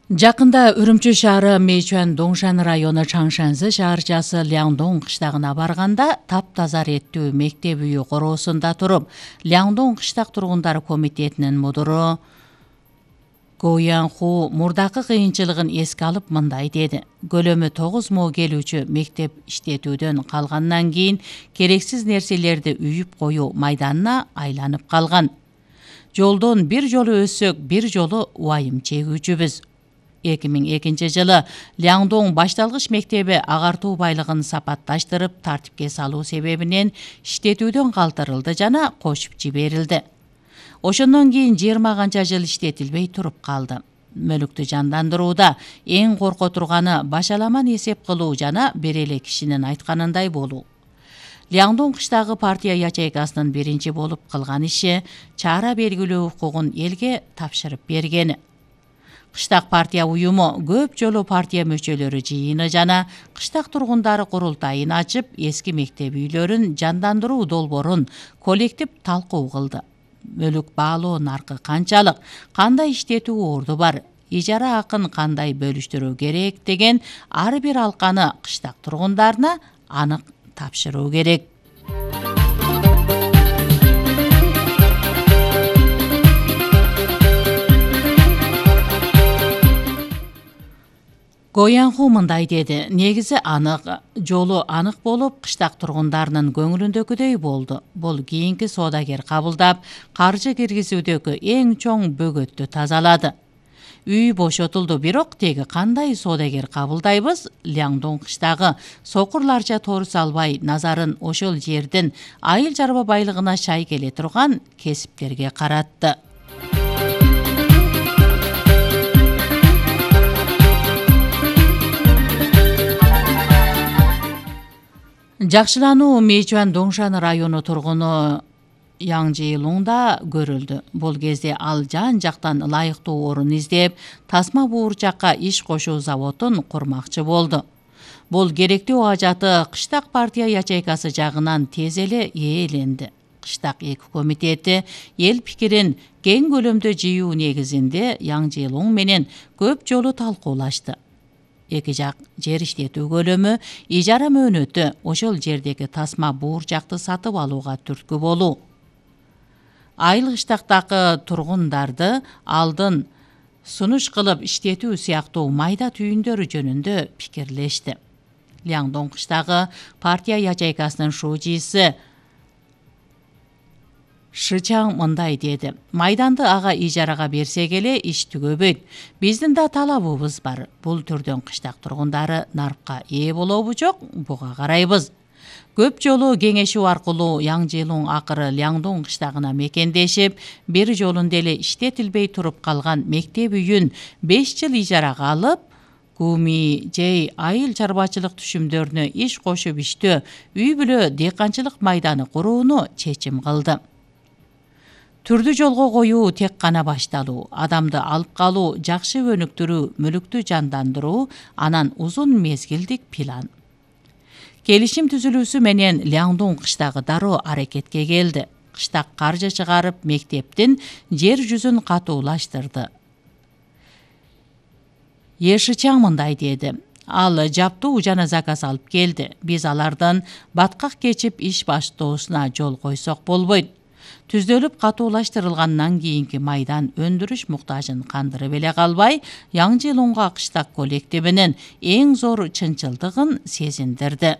Жакында Үрүмчү шаары Мэйчуан Доңшан району Чаңшанзы шаарчасы Ляңдоң кыштагына барганда таптаза реттүү мектеп үйү короосунда туруп, Ляңдоң кыштак тургундар комитетинин мудуру Го Янху мурдакы кыйынчылыгын эске алып мындай деди. Көлөмү 9 мо келүүчү мектеп иштетүүдөн калгандан кийин керексиз нерселерди үйүп коюу майданына айланып калган. Жолдон бир жолу өссөк, бир жолу убайым чегүүчүбүз. 2002 жылы Ляңдоң башталгыч мектеби агартуу байлыгын сапатташтырып тартипке салуу себебинен иштетүүдөн калтырылды жана кочуп жиберилди. Ошондон кийин 20 канча жыл иштетилбей туруп калды. Мөлүктү жандандырууда эң корко турганы башаламан эсеп кылуу жана бир эле кишинин айтканындай болуу. Ляңдоң кыштагы партия ячейкасынын биринчи болуп кылган иши чара белгилөө укугун элге тапшырып бергени. Кыштак партия уюму көп жолу партия мүчөлөрү жыйыны жана кыштак тургундары курултайын ачып, эски мектеп үйлөрүн жандандыруу долбоорун коллектив талкуу кылды. Мөлүк баалоо наркы канчалык, кандай иштетүү орду бар, ижара акын кандай бөлүштүрүү керек деген ар бир алканы кыштак тургундарына анык тапшыруу керек. Го Янху мындай деди. Негизи анык, жолу анык болуп, кыштак тургундарынын көңүлүндөгүдөй болду. Бул кийинки соодагер кабылдап, каржы киргизүүдөгү эң чоң бөгөттү тазалады. Үй бошотулду, бирок теги кандай соодагер кабылдайбыз? Ляңдоң кыштагы сокурларча торус албай, назарын ошол жердин айыл чарба байлыгына шай келе турган кесиптерге каратты. Жакшылануу Мэйчуан Доңшан району тургуну Яң Жейлуңда көрүлдү. Бул кезде ал жан жактан ылайыктуу орун издеп, тасма буурчакка иш кошуу заводун курмакчы болду. Бул керектүү ажаты кыштак партия ячейкасы жагынан тез эле ээленди. Кыштак эки комитети эл пикирин кең көлөмдө жыйуу негизинде Яң Жейлуң менен көп жолу талкуулашты. Эки жак жер иштетүү көлөмү, ижара мөөнөтү, ошол жердеги тасма буурчакты сатып алууга түрткү болуу. Айыл кыштактагы тургундарды алдын сунуш кылып иштетүү сыяктуу майда түйүндөрү жөнүндө пикирлешти. Ляңдоң кыштагы партия ячейкасынын шуучусу Шычаң мындай деди. Майданды ага ижарага берсек эле иш түгөбөйт. Биздин да талабыбыз бар. Бул түрдөн кыштак тургундары нарыкка ээ болобу жок, буга карайбыз. Көп жолу кеңешүү аркылуу Яң Жейлуң акыры Ляңдоң кыштагына мекендешип, бир жолунда эле иштетилбей туруп калган мектеп үйүн 5 жыл ижарага алып, Куми жей айыл чарбачылык түшүмдөрүнө иш кошуп иштөө, үй бүлө дыйканчылык майданы курууну чечим кылды. Түрдү жолго коюу тек гана башталуу, адамды алып калуу, жакшы өнүктүрүү, мүлүктү жандандыруу, анан узун мезгилдик план. Келишим түзүлүүсү менен Ляңдоң кыштагы дароо аракетке келди. Кыштак каржы чыгарып, мектептин жер жүзүн катуулаштырды. Шычаң мындай деди. Ал жаптуу жана заказ алып келди. Биз алардын баткак кечип иш баштоосуна жол койсок болбойт. Түздөлүп катуулаштырылгандан кийинки майдан өндүрүш муктажын кандырып эле калбай, Яң Жейлуңга кыштак коллективинин эң зор чынчылдыгын сезиндирди.